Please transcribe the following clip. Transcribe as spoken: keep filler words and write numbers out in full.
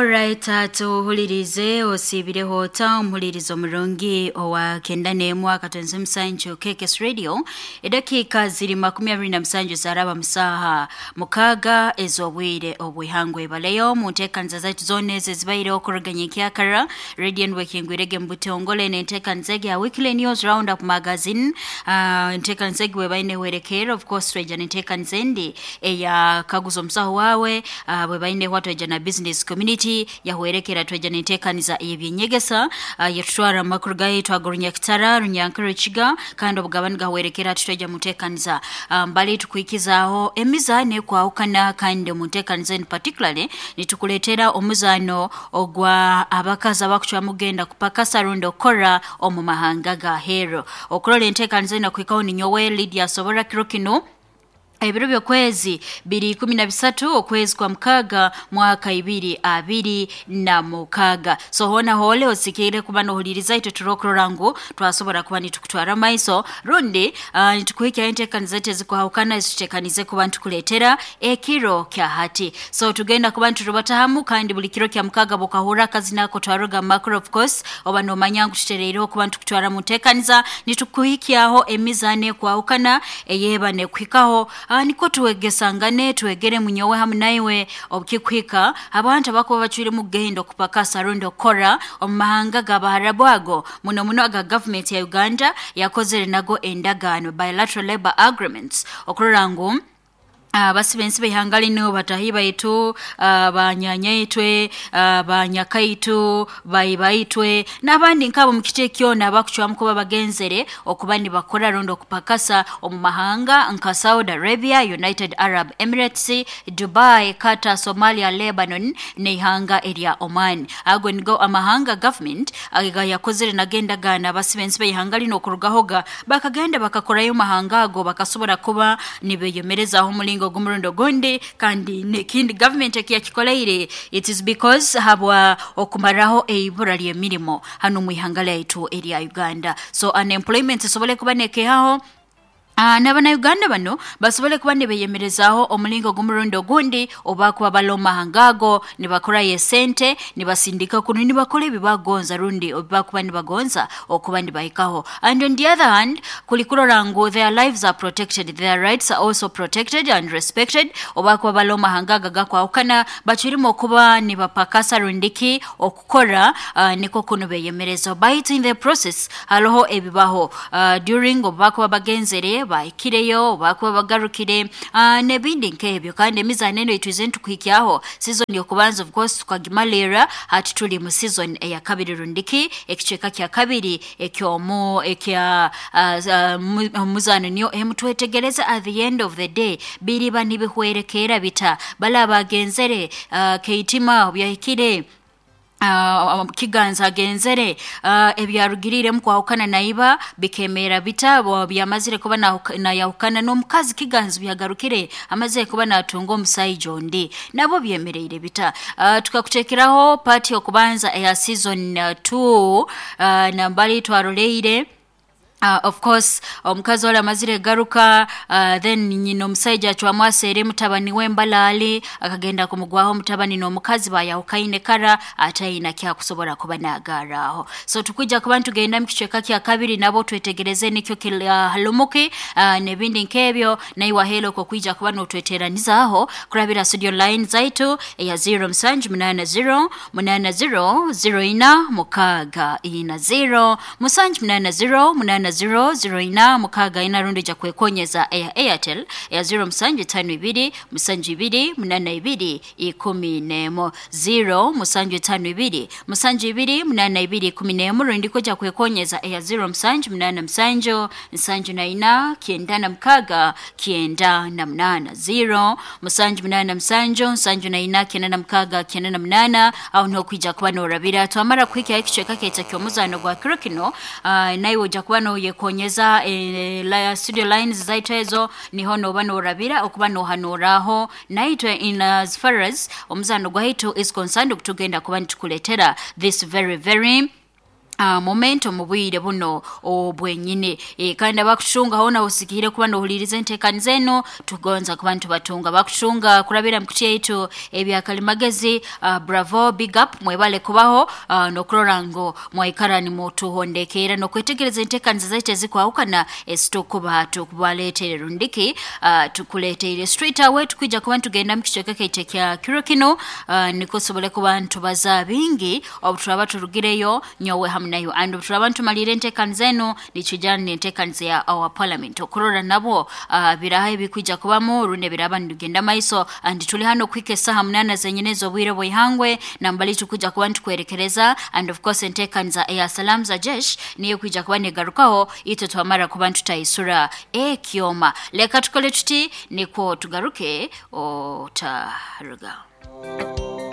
Alright, tuhulirize osiibireho ota omuhulirizo omurungi owa kenda n'emu akatonze musanju K K S Radio. Edakiika ziri makumi abiri na musanju zaraba musaha mukaaga ez'obwire obwihangwe baleyo mu nteekaniza zaitu zoona ezo ezibaireho okuruganya ekyakara Radio Network mu butongole n'enteekaniza egi ya Weekly News Roundup Magazine. Uh, enteekaniza egi bwebaine hwerekerera, of course tweja n'enteekaniza endi eya kaguza omusaho waawe, uh, bwebaine hwa tweja na business community yahwerekera tweja n'enteekaniza ey'ebyenyegesa, uh, yetutwara amakuru gaitu agorunyakitara runyankuru kandi obugabani gahwerekera tutweja mu nteekaniza mbali um, tukwikizaaho emizaano ekwahukana kandi mu nteekaniza in particularly nitukuleetera omuzaano ogwa abakazi abakucwamu kugenda kupakasa rundi okukora omu mahanga ga hero. Okurola enteekaniza eno kuhikaho ninyowe Lydia Sobora kiro kinu ebiro by'okwezi biri ikumi na bisatu okwezi kwa mukaaga mwaka ibiri abiri na mukaaga. So hona hole osikire kuba nohuliriza itwe turokurora ngu twasobora kuba nitukutwara maiso rundi uh, nitukuhikya enteekaniza zaitu ezikuhawukana ezituteekanize kuba nitukuleetera ekiro kya hati. So tugenda kuba niturubatahamu kandi buli kiro kya mukaaga bukahura akazina ako twaruga makro of course oba nomanya ngu tutereireho kuba nitukutwara mu nteekaniza nitukuhikyaho emizaano ekwahukana eyeba nekuhikaho. Uh, niko tuwegesangane tuwegere munyowe hamu naiwe obukikuhika abantu abakuba bacwire mu gendo kupakasa rundi okora omu mahanga g'abaharabu ago muno muno aga government ya Uganda yakozere nago endagaano bilateral labor agreements okurora ngu Uh, basibensi behanga lino batahi baitu, uh, banyanyaitwe, uh, banyakaitu, baibaitwe n'abandi nkabo mu kiti kyona abakucwamu kuba bagenzere okuba nibakora rundi okupakasa omu mahanga nka Saudi Arabia, United Arab Emirates, Dubai, Qatar, Somalia, Lebanon n'ihanga erya Oman. Ago nigo amahanga government aga yakozere nagendagaana basibensi behanga lino okurugahoga bakagenda bakakorayo mahanga ago bakasobora kuba nibeyemerezaho omulingo gumurundo gundi kandi nekindi government ekiyakikoleire it is because habwa okumaraho eibura ly'emirimo hano mu ihanga lyaitu erya Uganda. So unemployment esobole kuba nekehaho. Uh, n'abana Uganda bano basobole kuba nibeyemerezaaho omulingo gumurundo gundi oba kuba baloma hangago nibakora yesente nibasindika kuno nibakora ebibagonza rundi oba kuba nibagonza okuba nibahikaho. And on the other hand kulikurora ngu their lives are protected, their rights are also protected and respected oba kuba baloma hangaga gakwahukana bachirimo okuba nibapakasa rundiki okukora uh, niko kuno beyemerezaho. But in the process haloho ebibaho uh, during oba kuba bagenzere bahikireyo bakuba bagarukire uh, nebindi nkebyo kandi emizaano eno itwize ntukuhikyaho season yokubanza of course tukagimalira hati tuli mu season eya kabiri rundiki ekicweka kya kabiri ekyomu ekya uh, uh, muzaano niyo emutwetegereza at the end of the day biriba nibihwerekera bita bala bagenzere uh, keitima byahikire Uh, Kiganza agenzere uh, ebyarugirire mukwahukana naiba bikemera bitabo byamazire kuba na yahukana n'omukazi Kiganza byagarukire amazire kuba natunga omusaijo ondi nabo byemereire bita. uh, tukakutekeraho part yokubanza eya season two uh, nambali twaroleire. Uh, of course omukazi wala amazire garuka uh, then nyina omusajja acwamwasere mutabani we Mbalaali akagenda kumugwaho mutabani n'omukazi bayahukaine kara atayina kyakusobora kuba nagaraho. So tukujja kuba tugenda mu kicweka kya kabiri nabo twetegereze nikyo uh, halumuki uh, nebindi nkebyo naiwa helo ko kwijja kuba notweteranizaaho kurabira studio line zaitu ya zero musanju munana zero munana zero zero ina mukaga ina zero musanju munana zero munana zero zero ina mukaga ina rundi ja kwekonyeza ya Airtel ya zero musanju tano ibiri musanju ibiri munana ibiri ikumi nemo zero musanju tano ibiri musanju ibiri munana ibiri ikumi nemo rundi koja kwekonyeza ya zero musanju munana musanju musanju na ina kienda na mukaga kienda na munana zero musanju munana musanju musanju na ina kienda na mukaga kienda na munana aho niho kwija kuba norabira twamara kwikya ekicweka keita ky'omuzaano gwa kiro kino uh, naiwe ojja kuba no yekonyeza eh, la studio lines zaitu ezo niho noba norabira okuba nohanoraho naitwe in as far as omuzano gwaitu is concerned okutugenda kuba nitukuletera this very very Uh, momento mubwire buno obwenyine e, kandi abakutunga hona usikire kuba nohuliriza entekaniza eno tugonza kuba ntubatunga bakutunga kurabira mkuti yaitu ebyakalimagezi. uh, bravo, big up, mwebale kubaho uh, nokurora ngo mwaikara ni mutuhondekera nokwetegereza entekaniza zaitu ezikwahukana esitukuba tukubaletere rundiki uh, tukuleteire straight away. Tukwija kuba ntugenda mu kicweka kaitu kya kiro kino uh, nikusobole kuba ntubaza bingi obu turaba turugireyo nyowe hamwe nayo and turaba ntumalire entekaniza eno nikijana n'entekaniza ya our parliament okurora nabo uh, biraha ebikwija kubamu runde biraba nigenda maiso. And tuli hano kwika esaha munana zenyine z'obwire bw'ihangwe nambali tukuja kuba ntukwerekereza and of course entekaniza ya salam za jesh niyo kwija kuba negarukaho itwe twamara kuba ntutaisura ekyoma. Leka tukole tuti niko tugaruke otaruga.